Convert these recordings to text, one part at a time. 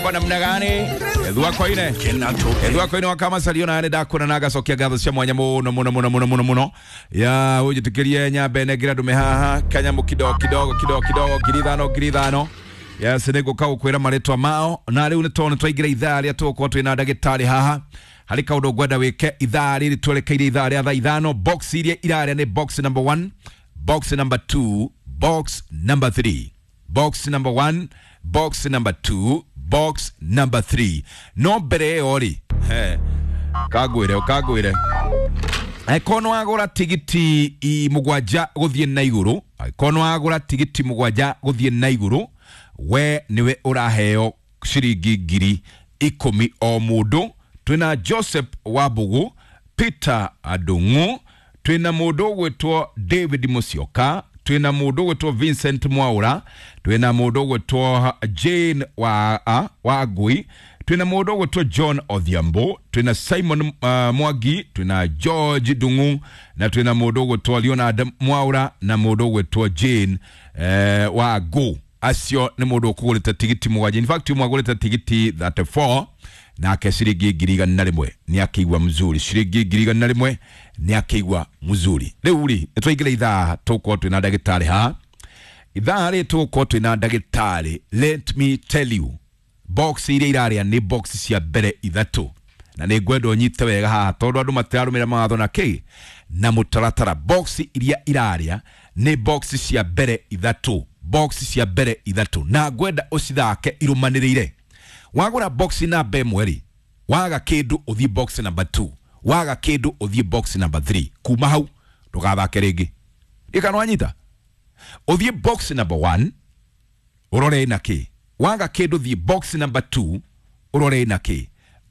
Itakuwa namna gani? Ethua koine. Ethua koine wakama salio na ndakona na gacokia ngatho cia mwanya muno muno muno muno muno muno. Ya unjitikirie nyambe nengera ndume haha kanyamu kidogo kidogo kidogo kidogo 5,000 5,000. Yes, nĩngũka gũkwĩra marĩtwa mao na rĩu nĩ tondũ nĩtwaingĩra ithaa rĩa tũgũkorwo twĩna ndagĩtarĩ haha harĩ kaũndũ ngwenda wĩke ithaa rĩrĩ twerekeire ithaa rĩa thaa 5. Box iria irarĩa nĩ box number 1, box number 2, box number 3, box number 1, box number 2, box number 3. No mbere ĩyo rĩ, kangwĩre kangwĩre angĩkorwo nĩ wagũra tigiti 7 gũthiĩ na igũrũ, angĩkorwo nĩ wagũra tigiti 7 gũthiĩ na igũrũ, we niwe uraheo ciringi 10,000 o mundu. Twina Joseph Wabugu, Peter Adungu, twina mundu ugwitwo David Musyoka, twina mundu ugwitwo Vincent Mwaura, twina mundu ugwitwo Jane Wangui, twina mundu ugwitwo John Odhiambo, twina Simon Mwangi, twina George Dungu na twina mundu ugwitwo Leonard Mwaura na mundu ugwitwo Jane Wangu. Acio nĩ mũndũ ũkũgũrĩte tigiti 7. In fact ũmwe agũrĩte tigiti 34 nake ciringi 101,000 nĩ akĩigua mzuri, ciringi 101,000 nĩ akĩigua mzuri. Rĩu rĩ nĩ twaingĩra ithaa tũgũkorwo twĩna ndagĩtarĩ haha. Ithaa rĩ tũgũkorwo twĩna ndagĩtarĩ. Let me tell you, box iria irarĩa nĩ box cia mbere 3 na nĩ ngwenda ũnyite wega haha tondũ andũ matirarũmĩrĩra mawatho na kĩ na mũtaratara. Box iria irarĩa nĩ box cia mbere 3, box cia mbere 3 na ngwenda ucithake irumaniriire. Wagura box namba 1 ri, waga kindu uthie box number 2, waga kindu uthie box number 3. Kuma hau ndugathake ringi. Ikano wanyita uthie box number 1 urore na ki, waga kindu thie box number 2 urore na ki,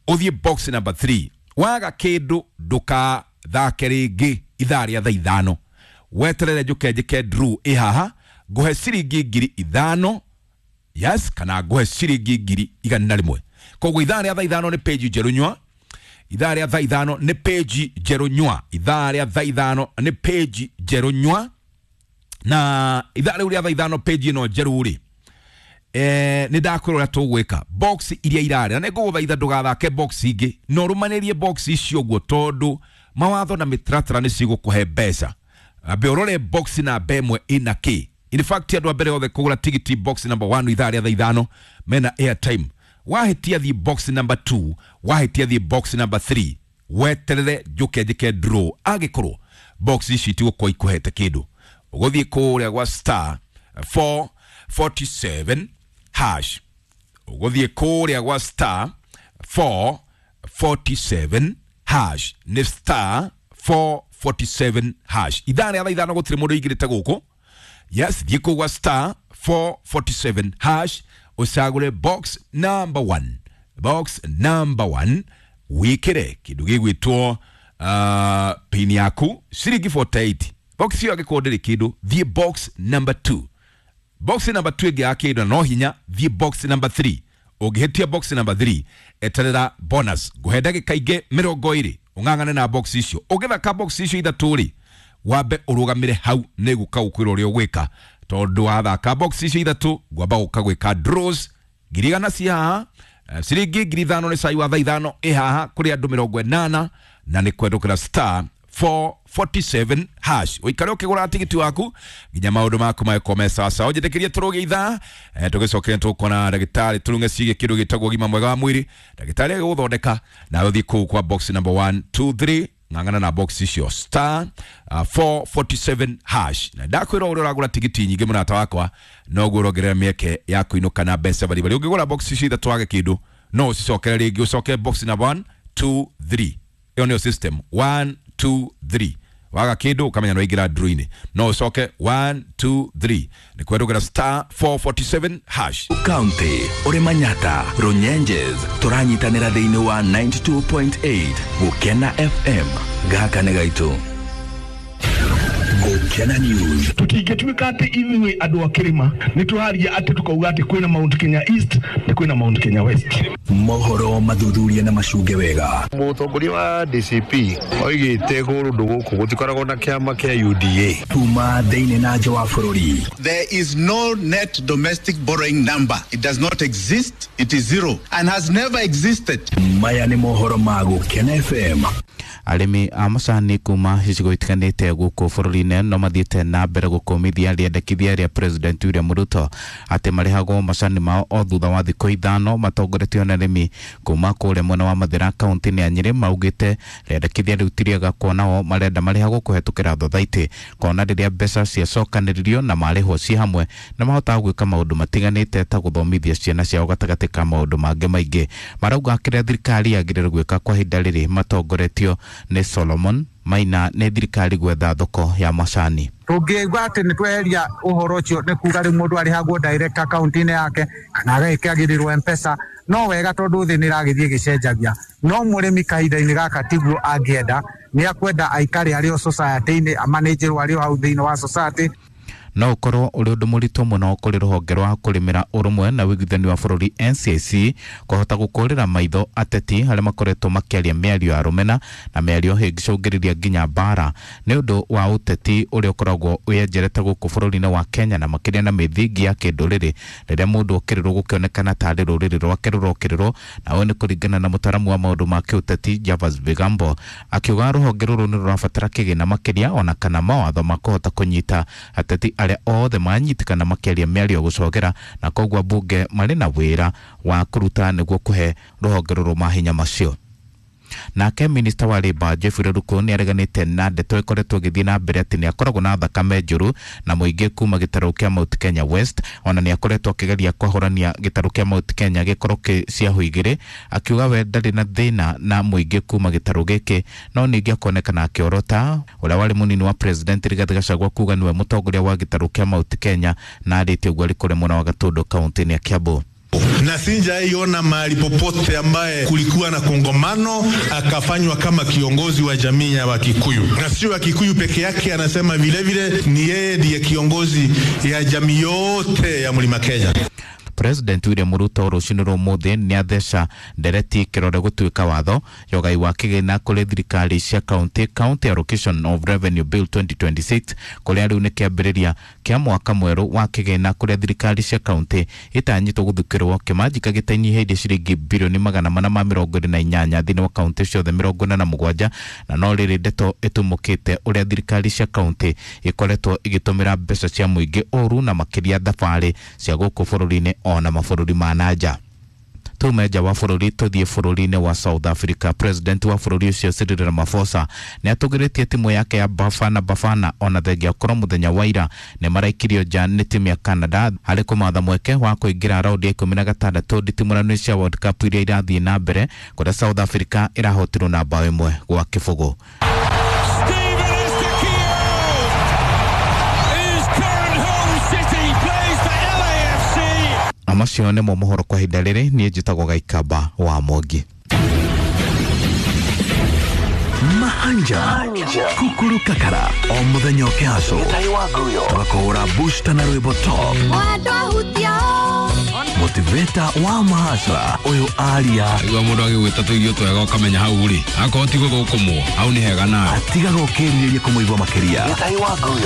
uthie box number 3, waga kindu ndukathake ringi ithaa ria thaa 5. Weterere njuke njike draw ihaha nguhe ciringi 5,000, yes, kana nguhe ciringi 101,000. Koguo ithaa rĩa thaa 5 nĩ page njerũ nyua, ithaa rĩa thaa 5 nĩ page njerũ nyua, ithaa rĩa thaa 5 nĩ page njerũ nyua. Na ithaa rĩu rĩa thaa 5 page ĩno njerũ rĩ, nĩ ndakwĩra ũrĩa tũgwĩka. Box iria irarĩa na nĩngũgũthaitha ndũgathake box ingĩ, na ũrũmanĩrie box icio ũguo tondũ mawatho na mĩtaratara nĩ cigũkũhe mbeca. Ambe ũrore box namba 1 ĩna kĩ. In fact andũ a mbere othe kũgũra tigiti box number 1 ithaa rĩa thaa 5 mena airtime. Wahĩtia thiĩ box number 2, wahĩtia thiĩ box number 3, weterere njũke njĩke draw. Angĩkorwo box ici itigũkorwo ikũhete kĩndũ, ũgũthiĩ kũrĩa gwa star 447 hash, ũgũthiĩ kũrĩa gwa star 447 hash, nĩ star 447 hash. Ithaa rĩa thaa 5 gũtirĩ mũndũ ũingĩrĩte gũkũ. Yes, thiĩ kũu gwa star 447 hash ũcagũre box number 1, box number 1 wĩkĩre kĩndũ gĩgwĩtwo pin yaku ciringi 48. Box ĩyo angĩkorwo ndĩrĩ kĩndũ, thiĩ box number 2. Box number 2 ĩngĩ ya kĩndũ no hinya, thiĩ box number 3. Ũngĩhĩtia box number 3 eterera bonus ngũhe ndagĩka ingĩ 20 ũng'ang'ane na box icio. Ũngĩthaka box icio 3 rĩ, wambe ũrũgamĩre hau nĩ gũka gũkwĩra ũrĩa ũgwĩka tondũ wathaka box icio 3 ngwamba gũka gwĩka draws 100,000 ci haha, ciringi 5,000 nĩ cai wa thaa 5 ĩ haha kũrĩ andũ 80 na nĩ kwendũkĩra star 447 hash. Ũikare ũkĩgũra tigiti waku nginya maũndũ maku magĩkorwo me sawasawa. Ũnjĩtĩkĩrie tũrũge ithaa, tũgĩcokere tũkona ndagĩtarĩ tũrunge ciĩgiĩ kĩndũ gĩtagwo ũgima mwega wa mwĩrĩ. Ndagĩtarĩ agĩgũthondeka nawe ũthiĩ kũu kwa box number 1 2 3 ng'ang'ana na box icio star 447 hash. Na ndakwĩra ũrĩa ũragũra tigiti nyingĩ mũrata wakwa noguo ũrongerera mĩeke ya kũinũka na mbeca baribari. Ũngĩgũra box icio 3 wage kĩndũ no ũcicokere rĩngĩ, ũcoke box number 1 2 3. Ĩyo nĩyo system 1 2 3. Waga kĩndũ ũkamenya nĩ waingĩra draw-inĩ, no ũcoke 1 2 3 nĩ kwendũkĩra star 447 hash. County ũrĩ Manyata Runyenjes tũranyitanĩra thĩinĩ wa 92.8 Gũkena FM. Gaka nĩ gaitũ. Gũkena News. Tũtingĩtuĩka atĩ ithuĩ andũ a kĩrĩma nĩ tũraria atĩ tũkauga atĩ kwĩna Mount Kenya East na kwĩna Mount Kenya West. Mohoro mathuthuria na macunge wega. Mũtongoria wa DCP oigĩte kũndũ gũkũ gũtikoragwo na kĩama kĩa UDA. Kuma thĩinĩ na nja wa bũrũri. There is no net domestic borrowing number. It does not exist. It is zero and has never existed. Maya nĩ mohoro ma Gũkena FM. Arĩmi a macani kuma icigo itiganĩte gũkũ bũrũri-inĩ no mathiĩte na mbere gũkũmithia rĩendekithia rĩa President William Ruto atĩ marĩhagwo macani mao o thutha wa thikũ 5 matongoretio nĩ arĩmi kuma kũrĩa mwena wa Mathĩra kaunti-inĩ ya Nyĩrĩ. Maugĩte rĩendekithia rĩu ti rĩega kuona o marenda marĩhagwo kũhetũkĩra thothaitĩ, kuona rĩrĩa mbeca ciacokanĩrĩrio na marĩhwo ciĩ hamwe nĩ mahotaga gwĩka maũndũ matiganĩte ta gũthomithia ciana ciao gatagatĩ ka maũndũ mangĩ maingĩ. Marauga kĩrĩa thirikari yagĩrĩirwo gwĩka kwa ihinda rĩrĩ matongoretio nĩ Solomon Maina nĩ thirikari gwetha thoko ya macani. Tũngĩigua atĩ nĩ tweheria ũhoro ũcio nĩ kuga rĩu mũndũ arĩhagwo direct account-inĩ yake kana agagĩkĩagĩrĩrwo M-Pesa, no wega tondũ thĩ nĩ ĩragĩthiĩ ĩgĩcenjagia. No mũrĩmi kahinda-inĩ gaka tiguo angĩenda, nĩ akwenda aikare arĩ o society-inĩ, amanĩnjĩrwo arĩ o hau thĩinĩ wa society. No ũkorwo ũrĩ ũndũ mũritũ mũno kũrĩ rũhonge rwa kũrĩmĩra ũrũmwe na ũiguithania wa bũrũri NCIC kũhota gũkũrĩra maitho ateti arĩa makoretwo makĩaria mĩario ya rũmena na mĩario ĩngĩcũngĩrĩria nginya mbara nĩ ũndũ wa ũteti ũrĩa ũkoragwo wĩenjerete gũkũ bũrũri-inĩ wa Kenya na makĩria na mĩthingi ya kĩndũrĩrĩ rĩrĩa mũndũ okĩrĩrwo gũkĩonekana tarĩ rũrĩrĩ rwake rũrokĩrĩrwo. Na ũyũ nĩ kũringana na mũtaaramu wa maũndũ ma kĩũteti Javas Bigambo akiuga rũhonge rũrũ nĩ rũrabatara kĩgĩna makĩria ona kana mawatho ma kũhota kũnyita ateti arĩa othe manyitĩkana makĩaria mĩario gũcogera, na koguo mbunge marĩ na wĩra wa kũruta nĩguo kũhe rũhonge rũrũ mahinya macio. Nake minista wa Labour Jeffrey Ruku nĩ areganĩte na ndeto ĩkoretwo ĩgĩthiĩ na mbere atĩ nĩ akoragwo na thakame njũru na mũingĩ kuma gĩtarũ kĩa Mount Kenya West. Ona nĩ akoretwo akĩgeria kwahũrania gĩtarũ kĩa Mount Kenya gĩkorwo kĩ ciahu igĩrĩ, akiuga we ndarĩ na thĩna na mũingĩ kuma gĩtarũ gĩkĩ, no ningĩ akonekana akĩorota ũrĩa warĩ mũnini wa President Rigathĩ Gachagua kuga nĩwe mũtongoria wa gĩtarũ kĩa Mount Kenya na arĩtie ũguo arĩ kũrĩa mwena wa Gatũndũ kaunti-inĩ ya Kiambu. Na sijaiona mahali popote ambaye kulikuwa na kongamano akafanywa kama kiongozi wa jamii ya Wakikuyu, na sio Wakikuyu peke yake, anasema vile vile ni yeye ndiye kiongozi ya jamii yote ya Mlima Kenya. President William Ruto rũcinĩ rwa ũmũthĩ nĩ atheca ndereti kĩrore gũtuĩka watho yogai wa kĩgĩna kũrĩ thirikari cia county, County Allocation of Revenue Bill 2026, kũrĩa rĩu nĩ kĩambĩrĩria kĩa mwaka mwerũ wa kĩgĩna kũrĩa thirikari cia county itanyĩtwo gũthukĩrwo kĩmanjika gĩtanyihĩirie ciringi birioni 428 thĩinĩ wa county ciothe 47. Na no rĩrĩ ndeto ĩtumũkĩte ũrĩa thirikari cia county ikoretwo igĩtũmĩra mbeca cia mũingĩ ũru na makĩria thabarĩ cia gũkũ bũrũri-inĩ ona mabũrũri ma nanja. Tume nja wa bũrũri tũthiĩ bũrũri-inĩ wa South Africa. President wa bũrũri ũcio Cyril Ramaphosa nĩ atũgĩrĩtie timu yake ya Bafana Bafana ona thengia korwo mũthenya wa ira nĩ maraikirio nja nĩ timu ya Canada harĩ kũmatha mweke wa kũingĩra raundi ya 16 nditimũrano cia World Cup iria irathiĩ na mbere kũrĩa South Africa ĩrahotirwo na bao 1-0. Amacio nĩmo mohoro kwa ihinda rĩrĩ. Niĩ njĩtagwo Gaikamba wa Mwangi. Mahanja Kukuru Kakara o mũthenya ũkĩhaco tũgakũhũra booster na rwĩmbo top motivator wa mahasra ũyũ aria igua mũndũ agĩgwĩta tũirio twega ũkamenya hau rĩ akorwo ti gũthũkũmwo hau nĩ hega nawe atigaga ũkĩrirĩria kũmũigua makĩria.